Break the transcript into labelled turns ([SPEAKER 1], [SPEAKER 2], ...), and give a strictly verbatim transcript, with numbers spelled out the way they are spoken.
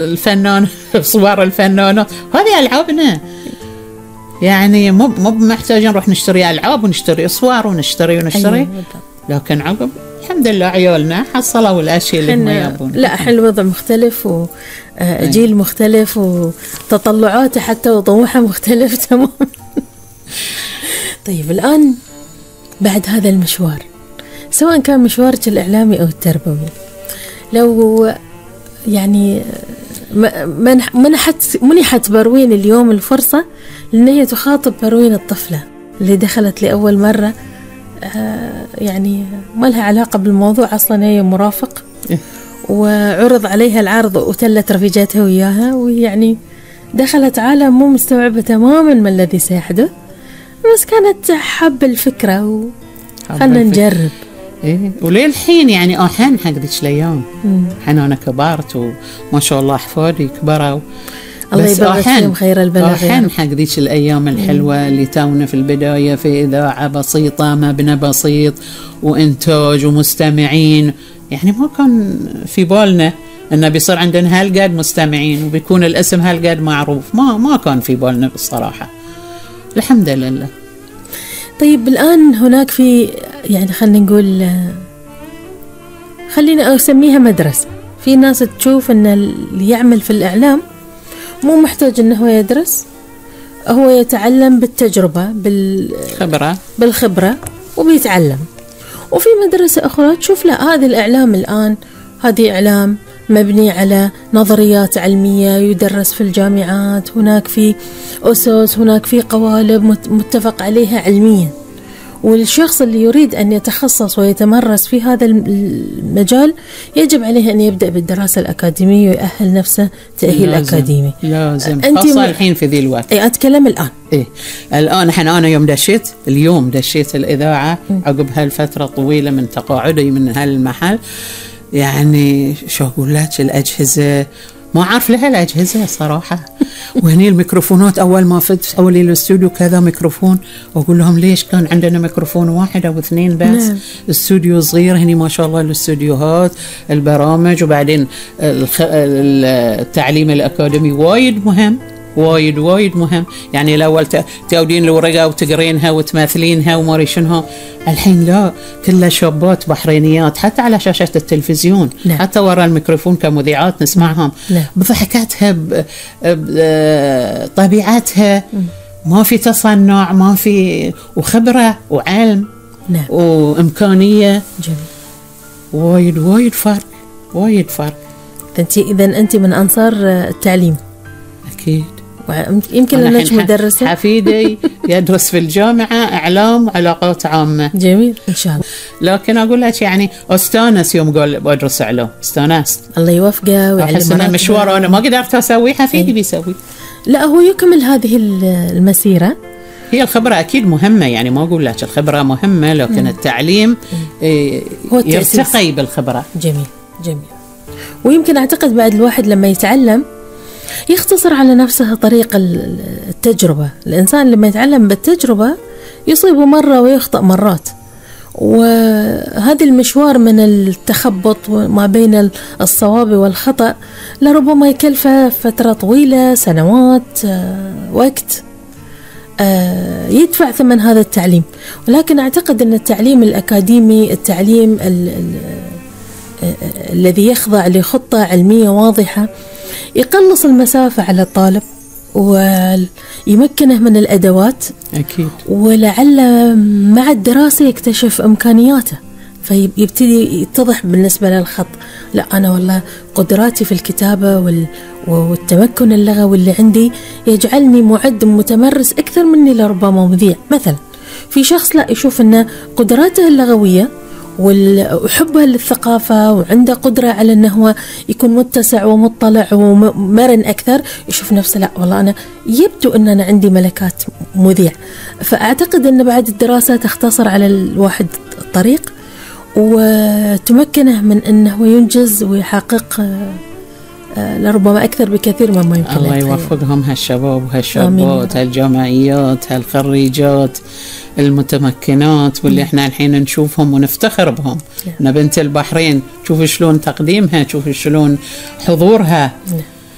[SPEAKER 1] الفنان صور الفنانة، هذه ألعابنا. يعني مو مو محتاجين نروح نشتري ألعاب ونشتري أصور ونشتري ونشتري أيوة. لكن عقب الحمد لله عيالنا حصلوا الأشياء اللي ما يبون.
[SPEAKER 2] لا الحين الوضع مختلف وجيل أيوة. مختلف وتطلعاته حتى وطموحه مختلف تمام. طيب الآن بعد هذا المشوار، سواء كان مشوارك الإعلامي أو التربوي، لو يعني منحت منحت بروين اليوم الفرصة لأن هي تخاطب بروين الطفلة اللي دخلت لأول مرة، يعني ما لها علاقة بالموضوع أصلا، هي مرافق وعرض عليها العرض وتلت رفيجاتها وياها، ويعني دخلت عالم مو مستوعبة تماما ما الذي سيحدث، بس كانت حب الفكرة وخلنا نجرب.
[SPEAKER 1] إيه وليه الحين يعني أحن حق ذيك الأيام، الحين أنا كبرت وما شاء الله أحفادي كبروا،
[SPEAKER 2] الله يبارك فيهم خير البلد.
[SPEAKER 1] أحن حق ذيك الأيام الحلوة مم. اللي تونا في البداية في إذاعة بسيطة، مبنى بسيط وإنتاج ومستمعين، يعني ما كان في بالنا إنه بيصير عندنا هالقد مستمعين وبيكون الاسم هالقد معروف، ما ما كان في بالنا بالصراحة، الحمد لله.
[SPEAKER 2] طيب الآن هناك في يعني خلينا نقول، خلينا أسميها مدرسة، في ناس تشوف أن اللي يعمل في الإعلام مو محتاج أنه هو يدرس، هو يتعلم بالتجربة بالخبرة بالخبرة وبيتعلم. وفي مدرسة أخرى تشوف لا، هذا الإعلام الآن هذه إعلام مبني على نظريات علمية يدرس في الجامعات، هناك في أسس، هناك في قوالب متفق عليها علميا، والشخص اللي يريد أن يتخصص ويتمرس في هذا المجال يجب عليه أن يبدأ بالدراسة الأكاديمية ويأهل نفسه تأهيل
[SPEAKER 1] لازم.
[SPEAKER 2] أكاديمي
[SPEAKER 1] لازم خاصة الحين في ذي الوقت.
[SPEAKER 2] إيه أتكلم الآن.
[SPEAKER 1] إيه الآن إحنا أنا يوم دشيت اليوم دشيت الإذاعة م. عقب هالفترة طويلة من تقاعدي من هالمحل، يعني شو أقول لك، الأجهزة ما أعرف لها الأجهزة صراحة. وهني الميكروفونات أول ما فت أولي الاستوديو كذا ميكروفون، وأقول لهم ليش كان عندنا ميكروفون واحد أو اثنين بس؟ نعم. استوديو صغير، هني ما شاء الله الاستوديوهات البرامج، وبعدين التعليم الأكاديمي وايد مهم، وايد وايد مهم. يعني الأول تأودين الورقة وتقرينها وتماثلينها وما شنو، الحين لا، كلها شابات بحرينيات حتى على شاشة التلفزيون. لا. حتى وراء الميكروفون كمذيعات نسمعهم. لا. بضحكاتها بطبيعتها، ما في تصنع، ما في، وخبرة وعلم. لا. وإمكانية. جميل. وايد وايد فرق، وايد فرق.
[SPEAKER 2] أنت إذا أنت من أنصار التعليم؟
[SPEAKER 1] أكيد.
[SPEAKER 2] يمكن لك مدرسة.
[SPEAKER 1] حفيدي يدرس في الجامعة إعلام وعلاقات عامة.
[SPEAKER 2] جميل إن شاء الله.
[SPEAKER 1] لكن أقول لك يعني أستانس يوم قال بدرس إعلام، استانست.
[SPEAKER 2] الله يوفقه ويعلمه.
[SPEAKER 1] أحس أنا مشوار أنا ما قدرت أسويه، حفيدي إيه؟ بيسوي.
[SPEAKER 2] لا هو يكمل هذه المسيرة.
[SPEAKER 1] هي الخبرة أكيد مهمة، يعني ما أقول لك الخبرة مهمة، لكن م. التعليم إيه هو يرتقي بالخبرة.
[SPEAKER 2] جميل جميل. ويمكن أعتقد بعد الواحد لما يتعلم يختصر على نفسه طريق التجربة. الإنسان لما يتعلم بالتجربة يصيب مرة ويخطأ مرات، وهذا المشوار من التخبط ما بين الصواب والخطأ لربما يكلفه فترة طويلة، سنوات، وقت، يدفع ثمن هذا التعليم. ولكن أعتقد أن التعليم الأكاديمي، التعليم ال ال الذي يخضع لخطة علمية واضحة، يقلص المسافة على الطالب ويمكنه من الأدوات.
[SPEAKER 1] أكيد. ولعل
[SPEAKER 2] مع الدراسة يكتشف إمكانياته، فيبتدي يتضح بالنسبة للخط، لا أنا والله قدراتي في الكتابة والتمكن اللغوي اللي عندي يجعلني معد متمرس أكثر مني لربما مذيع مثلا. في شخص لا، يشوف أن قدراته اللغوية وحبه للثقافة وعنده قدرة على أنه هو يكون متسع ومطلع ومرن أكثر، يشوف نفسه لا والله أنا يبدو أن أنا عندي ملكات مذيع. فأعتقد أن بعد الدراسة تختصر على الواحد الطريق وتمكنه من أنه ينجز ويحقق لربما أكثر بكثير مما يمكن.
[SPEAKER 1] الله يوفقهم هالشباب وهالشابات، هالجامعيات، هالخريجات المتمكنات، واللي احنا الحين نشوفهم ونفتخر بهم. أنا بنت البحرين، شوف شلون تقديمها، شوف شلون حضورها.